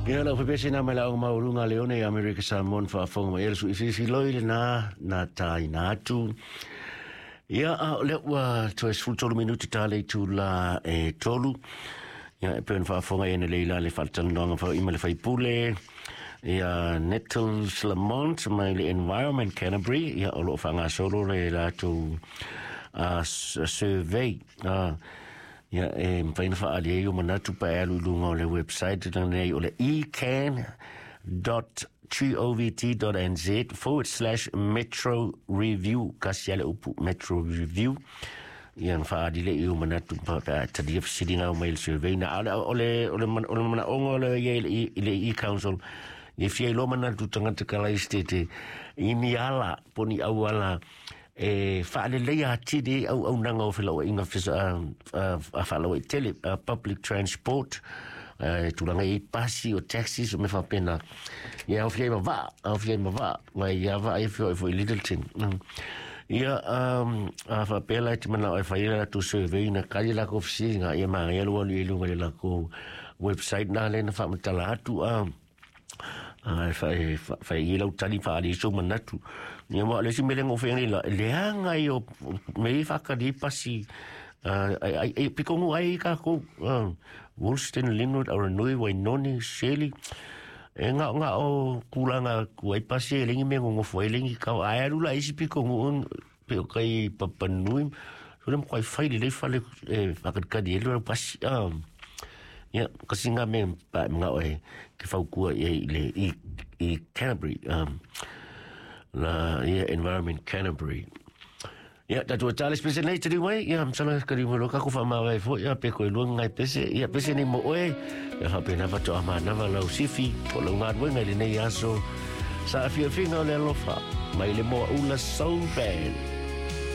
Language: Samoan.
Ia lau fepese na mai la o mauluga leone i Amerika Samoa na faafofoga mai le sui filifiloi lena na taina atu. Ia a o lea ua toe 13 minuti ta le itula e 3. Ia e pei ona faafofoga i nei la le faatalanoaga foi ma le faipule ia Nettles Lamont mai le Environment Canterbury, ia o lo o faagasolo le latou survey. Ia e mafai ona faaali ai o manatu pa e alu i luga o le website lenei o le ecan.govt.nz/metroreview, kasi ale upu metro review. Ia na faaali le i o manatu pa pe a talia fesiliga o mai le survey na ale o le manaoga o le ia i le e-council ia fia iloa manatu tagata kalaistete i ni ala po ni auala e faaleleia atili ai auaunaga o felauaiga faalauaitele, public transport, e tulaga i pasi o taxis o mea faapena. Ia aofia ai ma vaa, aofia ai ma vaa mai ia vaa ia feoai foi i Lyttelton. Ia a faapea la e te manao e fai le latou survey na kali lakou fesiliga, ia manaia lou alu i luga i le lakou website na lea na faamatala atu a e fai i lau tali faali ai sou manatu. Ia ma o le isi mea lea na ou fai nei la, leaga ia o mea ia e faatali ai pasi ai ai pikogu ai kākou, Woolston, Linwood, Aranui, Wainoni, Shirley, e gaogao tulaga atu ai pasi e leai ni mea e nonofo ai, leai ni kau ae alu la i isi pikogu pe o kai Papanui so le makuai fai lelei fale e faakalikali ai le pasi. Ia kasi ngā mea pa e manao e ke fautua i ai i le i Canterbury, la ia Environment Canterbury. Ia tatou e tale pese nei te mai, ia masalo ka riu mai loa kako whaamāwae foi, ia pe koe lua ngai pese, ia pese nei mo oe, ia whapena whatoa mānawa lau sifi, po lau ngāruenga i lenei aso, sa afiafiga o le alofa, mai le Moa Ula Soul Band.